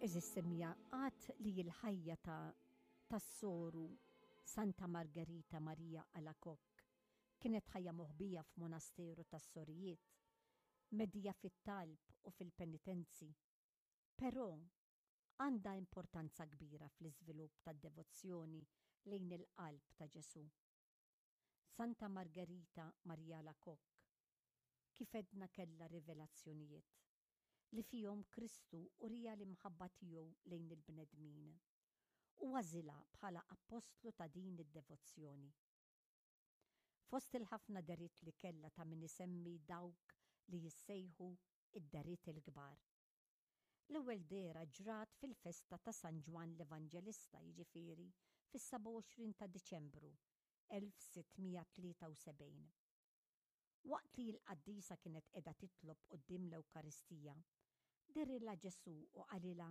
Għeżież semmiegħa, għad li l-ħajja ta' tas-soru Santa Margherita Maria Alacoque kienet ħajja moħbija f'monasteru tas-sorijiet, medhija fit-talb u fil-penitenzi. Però, għandha importanza kbira fl-iżvilupp tad-devozzjoni lejn il-Qalb ta' Ġesù. Santa Margherita Maria Alacoque, kif għedna kellha rivelazzjonijiet, li fihom Kristu uriha l-imħabba tiegħu lejn il-bnedmin, u għażilha bħala appostlu ta' din id-devozzjoni. Fost il-ħafna dehriet li kellha ta' min isemmi dawk li jissejħu id-dehriet il-kbar. L-ewwel dehra ġrat fil-festa ta' San Ġwann l-Evanġelista, jiġifieri fis-27 ta' Diċembru 1673. Waqt li l-qaddisa kienet qiegħda titlob quddiem l-Ewkaristija, dehrilha Ġesù u qalilha,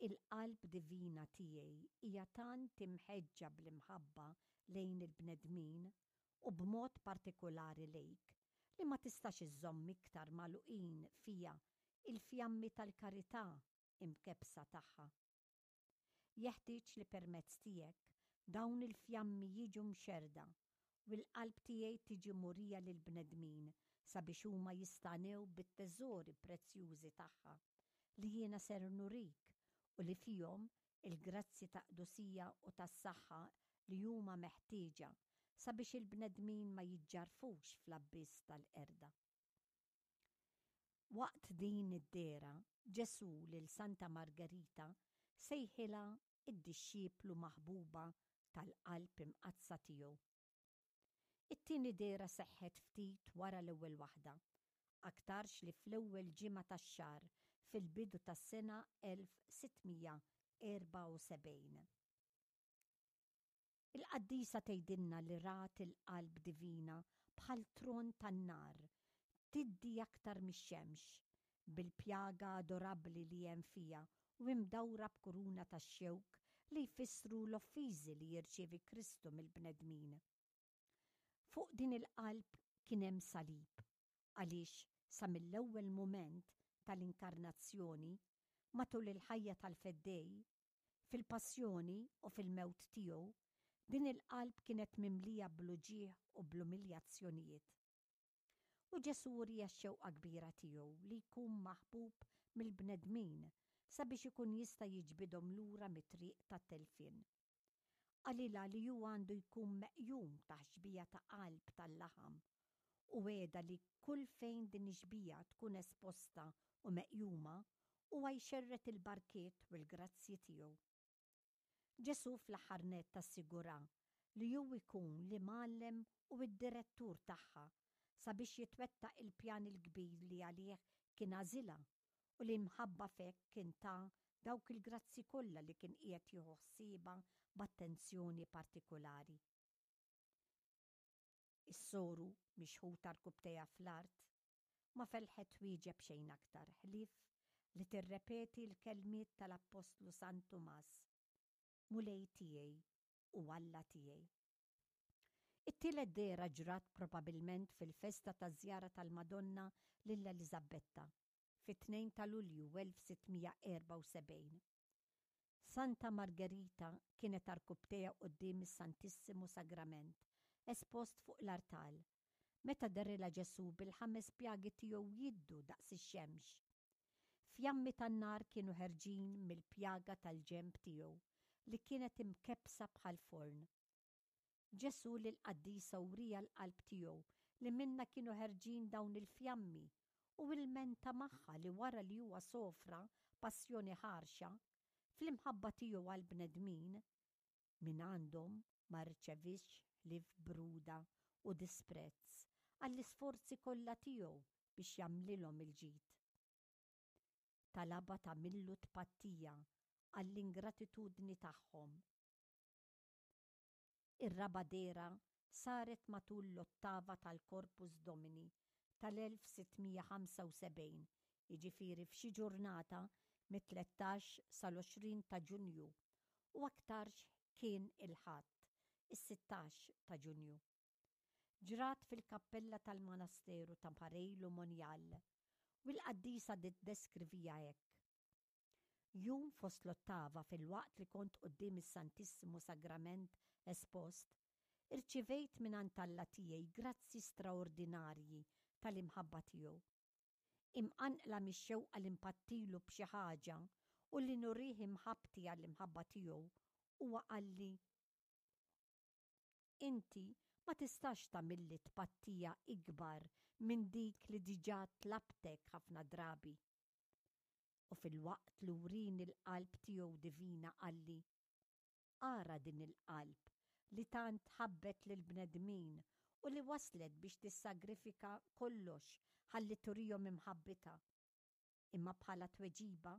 Il-qalb divina tiegħi hija tant imħeġġa bl-imħabba lejn il-bnedmin, u b'mod partikulari lejk, li ma tistax iżżomm iktar magħluqin fiha l-fjammi tal-karità imkebbsa tagħha. Jeħtieġ li permezz tiegħek dawn il-fjammi jiġu mxerrda u l-qalb tiegħi tiġi murija lill-bnedmin sabiex huma jistagħnew bit-teżori prezzjużi tagħha li jiena ser nurik u li fihom il-grazzji ta' qdusija u tas-saħħa li huma meħtieġa sabiex il-bnedmin ma jiġġarrfux fl-abbiss tal-qerda. Waqt din id-dehra, Ġesù lil Santa Margerita sejħilha d-dixxiplu maħbuba tal-Qalb Imqaddsa tiegħu. It-tieni dehra seħħet ftit wara l-ewwel waħda, aktarx li fl-ewwel ġimgħa tax-xahar fil-bidu tas-sena 1674. Il-qaddisa tgħidilna li rat il-Qalb Divina bħal tron tan-nar, tiddi aktar mix-xemx, bil-pjaga adorabbli li hemm fiha u imdawra b'kuruna tax-xewk li jfissru l-offiżi li jirċievi Kristu mill-bnedmin. Fuq din il-qalb kien hemm salib, għaliex sa mill-ewwel mument tal-Inkarnazzjoni, matul il-ħajja tal-Feddej, Fil-passjoni u fil-mewt tiegħu, din il-qalb kienet mimlija bl-uġigħ u bl-umiljazzjonijiet. U Ġesù wriha x-xewqa kbira tiegħu li jkun maħbub mill-bnedmin sabiex ikun jista' jiġbidhom lura mit-triq tat-telfien. Qalilha li hu għandu jkun meqjum taħt xbieha ta' qalb tal-laħam u wegħedha li kull fejn din ix-xbieha tkun esposta u meqjuma, huwa jxerred il-barkiet u l-grazzji tiegħu. Ġesù fl-aħħar nett assigura li hu jkun l-imgħallem u d-direttur tagħha sabiex jitwettaq il-pjan il-kbir li għalih kien għażilha u li mħabba f'hekk kien ta dawk il-grazzji kollha li kien qiegħed jieħu ħsiebha b'attenzjoni partikulari. Is-soru, mixħuta rkubbtejha fl-art, ma felħet twieġeb xejn aktar ħlief li tirrepeti l-kelmiet tal-Appostlu San Tumas, Mulej tiegħi u Alla tiegħi. It-tielet dehra ġrat probabilment fil-festa taż-żjara tal-Madonna lil Eliżabbetta, fit-2 ta' Lulju 1674. Santa Margerita kienet għarkupptejha quddiem is-Santissimu Sagrament espost fuq l-artal, meta dehrilha Ġesù bil-ħames pjagi tiegħu jiddu daqs ix-xemx. Fjammi tan-nar kienu ħerġin mill-pjaga tal-ġenb tiegħu li kienet imkebbsa bħal forn. Ġesù lill-qaddisa wriha l-qalb tiegħu li minnha kienu ħerġin dawn il-fjammi u ilmenta magħha li wara li huwa sofra passjoni ħarxa, fl-imħabba tiegħu għall-bnedmin, mingħandhom ma rċeviex ħlief bruda u disprezz għall-isforzi kollha tiegħu biex jagħmlilhom il-ġid. Talabha tagħmillu tpattija għall-ingratitudni tagħhom. Ir-raba' dehra saret matul l-ottava tal-Corpus Domini tal-1675, jiġifieri f'xi ġurnata mit-tlettax sal-20 ta' Ġunju, u aktarx kien il-Ħadd, is-sittax ta' Ġunju. Ġrat fil-kappella tal-monasteru ta' Pareil-u-Monial, u l-qaddisa tiddeskriviha hekk. Jum fost l-ottava filwaqt li kont quddiem is-Santissimu Sagrament espost, irċivejt mingħand Alla tiegħi grazzji straordinarji tal-imħabba tiegħu. Imqanqla mix-xewqa li npattilu b'xi ħaġa u li nurih imħabbti għall-imħabba tiegħu, huwa qalli, Inti ma tistax tagħmilli tpattija ikbar minn dik li diġà tlabtek ħafna drabi. U filwaqt li wrieni l-qalb tiegħu divina qalli, Ara din il-qalb li tant ħabbet lill-bnedmin u li waslet biex tissagrifika kollox ħalli turihom imħabbitha. Imma bħala tweġiba,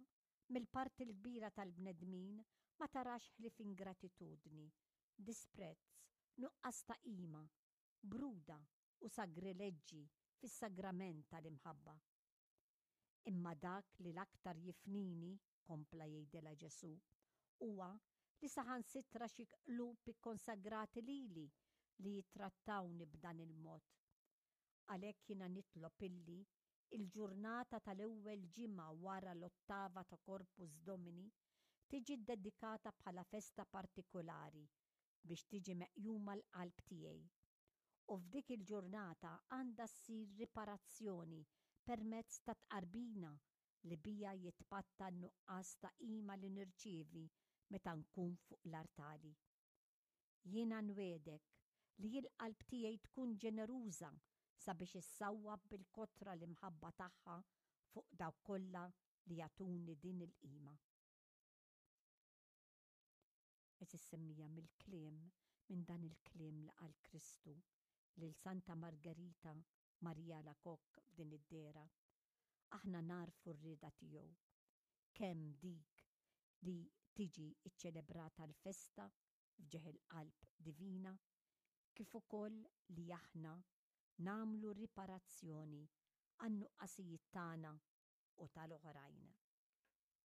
mill-parti l-kbira tal-bnedmin ma tarax ħlief ingratitudni, disprezz, nuqqas ta' qima, bruda u sagrileġġi fis-sagrament tal-imħabba. Imma dak li l-aktar jifnini, kompla jgħidilha Ġesù, huwa li saħansitra xi qlub ikkonsagrati lili li jittrattawni b'dan il-mod. Għalhekk jiena nitlob illi l-ġurnata tal-ewwel ġimgħa wara l-ottava ta' Corpus Domini tiġi ddedikata bħala festa partikulari biex tiġi meqjuma l-qalb tiegħi. U f'dik il-ġurnata għandha ssir riparazzjoni permezz ta' tqarbina li biha jitpatta n-nuqqas ta' qima li nirċievi meta nkun fuq l-artali. Jiena nwiegħdek li l-qalb tiegħi tkun ġeneruża sabiex issawwab bil-kotra l-imħabba tagħha fuq dawk kollha li jagħtuni din il-qima. Għeżież semmija mill-kliem minn dan il-kliem li qal Kristu lil Santa Margerita Maria Alacoque f'din id-dehra, aħna nagħrfu r-rieda tiegħu, kemm dik li tiġi ċċelebrata l-festa f'ġieħ il-Qalb Divina, kif ukoll li aħna nagħmlu riparazzjoni għan-nuqqasijiet tagħna u tal-oħrajn.